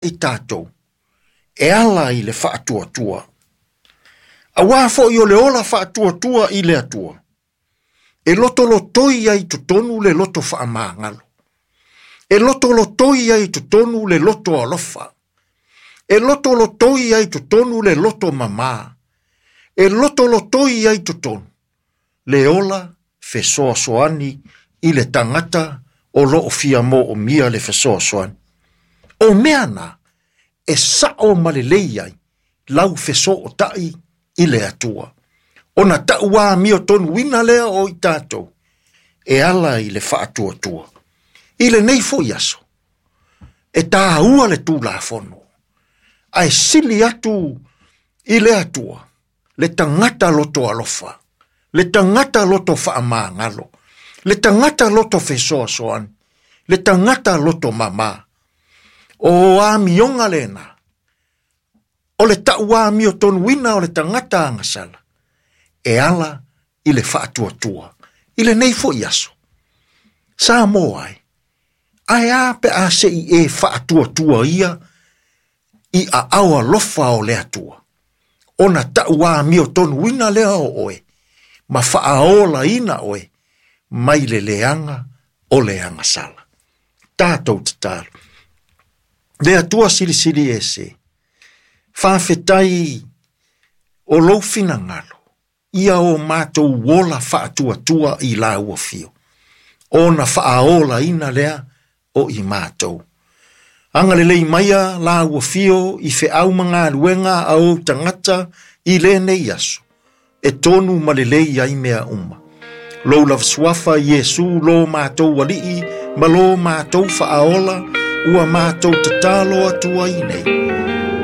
I tatou e ala i le faatuatua. Auā foi o le ola faatuatua i le Atua, e lotolotoi ai i totonu le loto faamagalo, e lotolotoi ai i totonu le loto alofa, e lotolotoi ai i totonu le loto mamā, e lotolotoi ai i totonu le ola fesoasoani i le tagata o lo o fia moomia le fesoasoani. O mea na e sao ma lelei ai lau fesootai i le Atua. Ona tauamiotonuina lea o i tatou e ala i le faatuatua. I lenei foi aso, e tāua le Tulafono, ae sili atu i le Atua le tagata loto alofa, le tagata loto faamagalo, le tagata loto fesoasoani, le tagata loto mamā. O amioga lena, o le tauamiotonuina o le tagata agasala, e ala i le faatuatua. I lenei foi aso, Samoa ai, ae a pe a se i e faatuatua ia i aao alofa o le Atua, ona tauamiotonuina lea o oe, ma faaolaina oe mai le leaga o le agasala. Tatou tatalo. Le Atua silisili ese, faafetai o lou finagalo, ia o matou ola faatuatua i lau afio, ona faaolaina lea o i matou. Agalelei maia lau afio i feau ma galuega a ou tagata i lenei aso, e tonu ma lelei ai mea uma. Lou lava suafa Iesu lo matou Alii ma lo matou Faaola, ua matou tatalo atu ai nei.